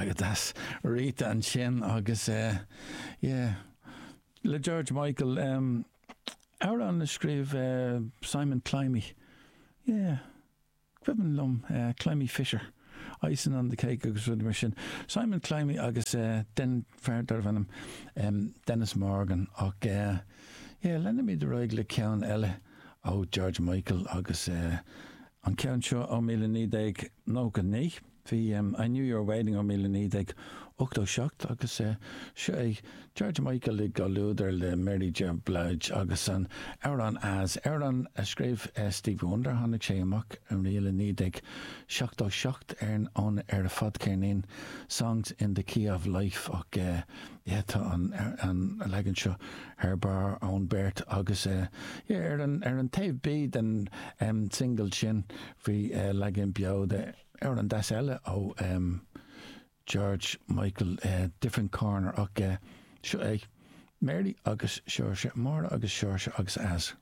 Go deas. Rita ansin agus eh yeah le George Michael em amhrán a scríobh eh Simon Climie yeah cuimhin liom eh Climie Fisher Icing on the Cake agus rudaí mar sin. Simon Climie agus eh den fear darbh ainm em Dennis Morgan ach eh yeah leanfaimid ar aghaidh le ceann eile ó George Michael agus eh an ceann seo ó 1999. Bhí I Knew You Were Waiting ó 1987 agus seo é George Michael i gcomhluadar le Mary J. Blige agus an amhrán As, amhrán a scríobh Stevie Wonder. Tháinig sé amach i 1977 ar an ar a fadcheirnín Songs in the Key of Life ach yeah tá an an leagan seo thar barr ón beirt agus yeah ar an ar an taobh B den single sin bhí leagan beo de Amhrán deas eile ó George Michael, Different Corner ach seo é Mary agus Seoirse, Máire agus Seoirse agus As.